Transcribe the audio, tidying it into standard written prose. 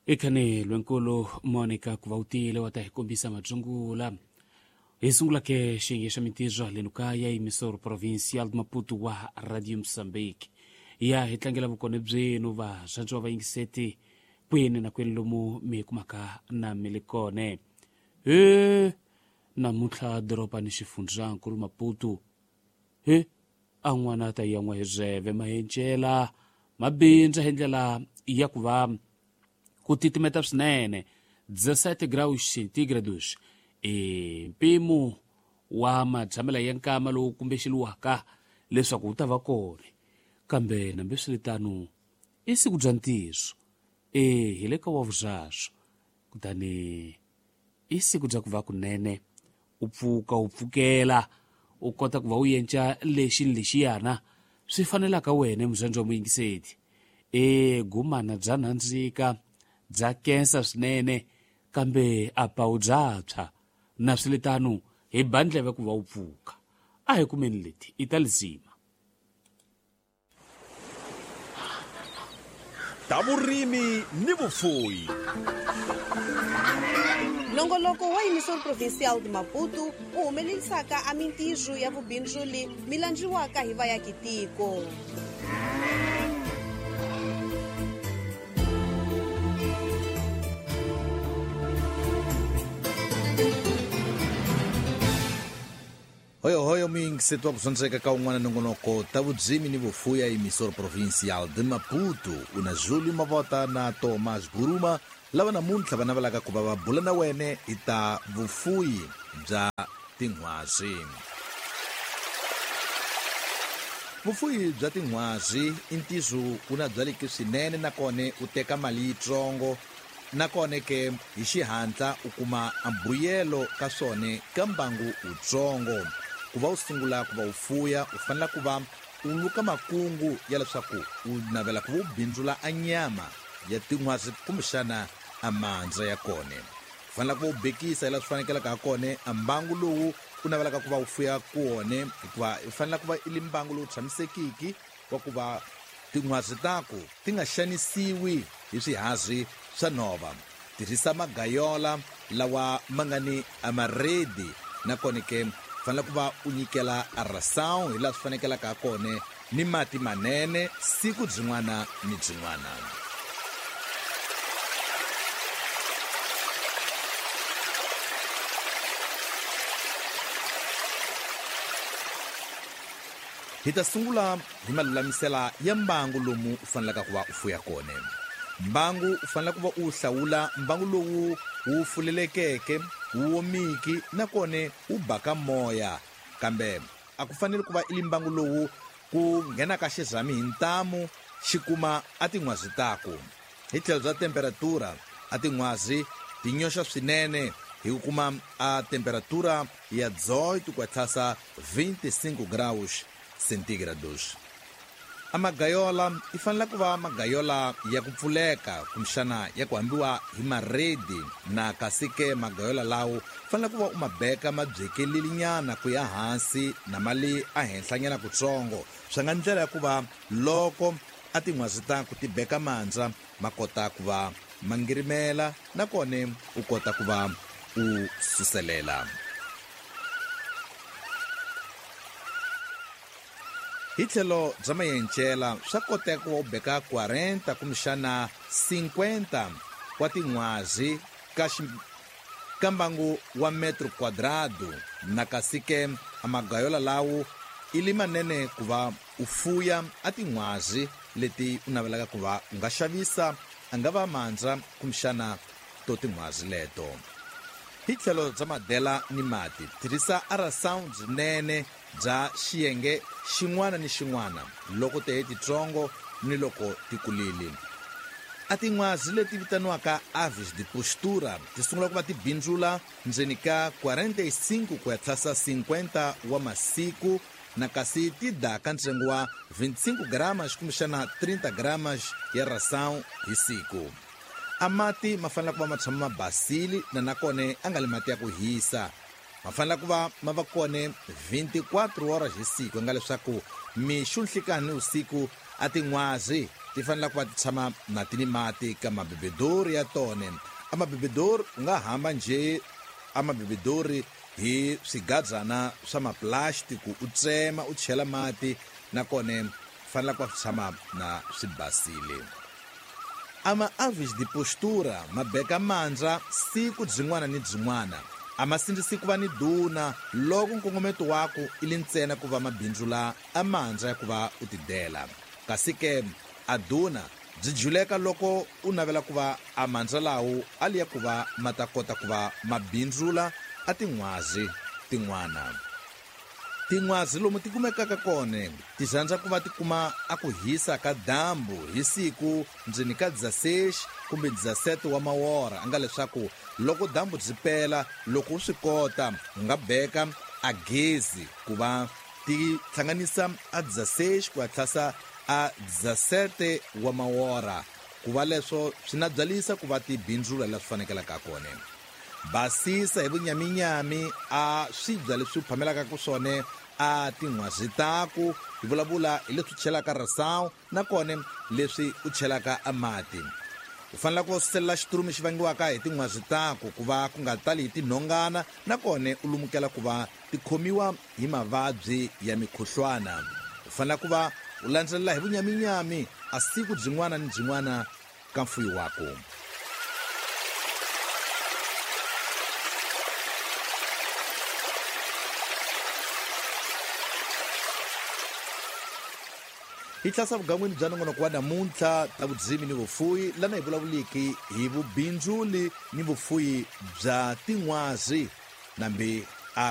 Ekhane lwenkulu Monica ku va u tile wa ta hi kombisa madzungula. Hi sungula ke xiyenge xa mintirho haleno kaya emissor provincial de Maputo wa Radio Mozambique. Ya hi tlangela vukona byenu varhandziwa vayingiseti kwini na kwini lomu mi kumaka na mi li kone. He namuntlha doroba ni xifundzankulu Maputo. He a n'wana ta yan'wa hi zeve mahencela mabindzu hi ndlela ya ku va ku titimeta swinene 17 graus centígrados i mpimo wa matshamela ya nkama lowu kumbexeliwaka leswaku wu ta va kona, kambe nambeswiritano i siku bya ntiyiso e hi le ka wa vuzaswo, kutani i siku bya ku va kunene u pfuka u pfukela u kota ku va u yenca lexi ni lexiyana swi fanelaka wena muzandzi wa muyingiseti. E gumana bya nandzika bya kensa swinene, kambe a pawu bya tshwa na swiritano hi ba ndleve ku va u pfuka. A hi kumeni leti i ta lizima. Ta vurimi ni vufuyi. Nongoloko wa Emissor Provincial de Maputo wu humelerisaka a mintirho ya vubindzuli mi landziwaka hi vayakitiko. Hoyohoyo muyingiseti wa ku dyondzeka ka un'wana nongonoko ta vudzimi ni vufuya emissor provincial de Maputo u na Julio Mavota na Thomas Guruma lava namuntlha va navelaka ku va va bula na wene hi ta vufuyi bya tinghwazi. Vufuyi bya tinghwazi i ntizo wu na byaleki swinene nakona u teka mali yitsongo nakona ke hi xihatla u kuma mbuyelo ka swona ka mbangu wutsongo. Ku va u sungula ku va u fuya u fanele ku va u luka makungu ya leswaku u navela ku va u bindzula a nyama ya tinghwazi kumbexana a mandza ya kona. U fanele ku va u bekisa hi laha swi fanekelaka ha kona a mbangu lowu u navelaka ku va u fuya kona, hikuva u fanele ku va i li mbangu lowu tshamisekiki wa ku va tinghwazi taku ti nga xanisiwi hi swihazi swa nhova. Tirhisa magayola lawa ma nga ni amaredi nakona ke fanele ku va u nyikela aração hi laha swi fanekelaka ha kona ni mati manene siku byin'wana ni byin'wana. Hi ta sungula hi malulamisela ya mbangu lomu u fanelaka ku va u fuya kona. Mbangu u fanele ku va u hlawula mbangu lowu wu fulelekeke, wu omiki nakona wu baka moya, kambe a ku fanele ku va i li mbangu lowu ku nghenaka xirhami hi ntamu xi kuma a tinghwazi taku. Hi tlhelo bya temperatura a tinghwazi ti nyoxa swinene hi ku kuma a temperatura ya 18,25 graus centígrados. A magayola i fanele ku va magayola ya ku pfuleka kumbexana ya ku hambiwa hi maredi, na kasi ke magayola lawo fanele ku va u ma beka ma byekelelinyana ku ya hansi na mali a henhlanyana kutsongo, swi nga ndlela ya ku va loko a tinghwazi ta ku ti beka mandza ma kota ku va ma ngirimela nakona u kota ku va u suselela. Hi tlhelo bya mayencela swa koteka ku va u beka 40 kumbexana 50 wa tinghwazi ka mbangu wa metro quadrado, na kasi ke a magayola lawo i li manene ku va u fuya a tinghwazi leti u navelaka ku va u nga xavisa a nga va mandza kumbexana to tinghwazi leto. Hi tlhelo bya madela ni mati tirhisa aração byinene bya xiyenge xin'wana ni xin'wana loko te titsongo ni loko ti kulile. A tinghwazi leti vitaniwaka aves de postura ti sungula ku va ti bindzula ndzeni ka 45 ku ya tlhasa 50 wa masiku, na kasi ti daka ntsengo wa 25 gramas kumbexana 30 gramas ya ração hi siku. A mati ma fanele ku va ma tshama ma basile na nakona a nga li mati ya ku hisa. Ma fanele ku va ma va kona 24 horas hi siku, nga leswaku mixo, nhlikani ni usiku a tinghwazi Ti fanele ku va ti tshama na ti ni mati ka mabebedori ya tona. A mabebedori u nga hamba njhe a mabebedori hi swigadzana swa maplastiki, u tsema u chela mati, nakona fanele ku va swi tshama na swi basile. Ama aves de postura ma beka mandza siku byin'wana ni byin'wana. A ma sindzisi ku va ni duna loko nkongometo waku i li ntsena ku va mabindzu la a mandza ya ku va u tidela. Kasi ke a duna byi juleka loko u navela ku va a mandza lawo a li ya ku va ma ta kota ku va mabindzula a tin'hwazi tin'wana. Tin'hwazi lomu ti kumekaka kona ti rhandza ku va ti kuma a ku hisa ka dyambu hi siku ndzeni ka 16 kumbe 17 wa mawora, a nga leswaku loko dyambu byi pela, loko u swi kota u nga beka a gezi ku va ti hlanganisa a 16 ku ya tlhasa a 17 wa mawora, ku va leswo swi na byalisa ku va ti bindzula leswi fanekelaka kona. Basisa hi vunyaminyami a swibya leswi u phamelaka ku swona a tin'hwazi taku, hi vulavula hi leswi u chelaka rasawu nakona leswi u chelaka a mati. U fanele ku suselela xiturumi xi vangiwaka hi tin'hwazi taku ku va ku nga tali hi tinhongana, nakona u lumukela ku va ti khomiwa hi mavabyi ya mikhuhlwana. U fanele ku va u landzelela hi vunyaminyami a siku byin'wana ni byin'wana ka mfuyo waku. Hi tlhasa vugan'wini bya nongonoko wa namuntlha ta vudzimi ni vufuyi, lana hi vulavuliki hi vubindzuli ni vufuyi bya tin'hwazi nambi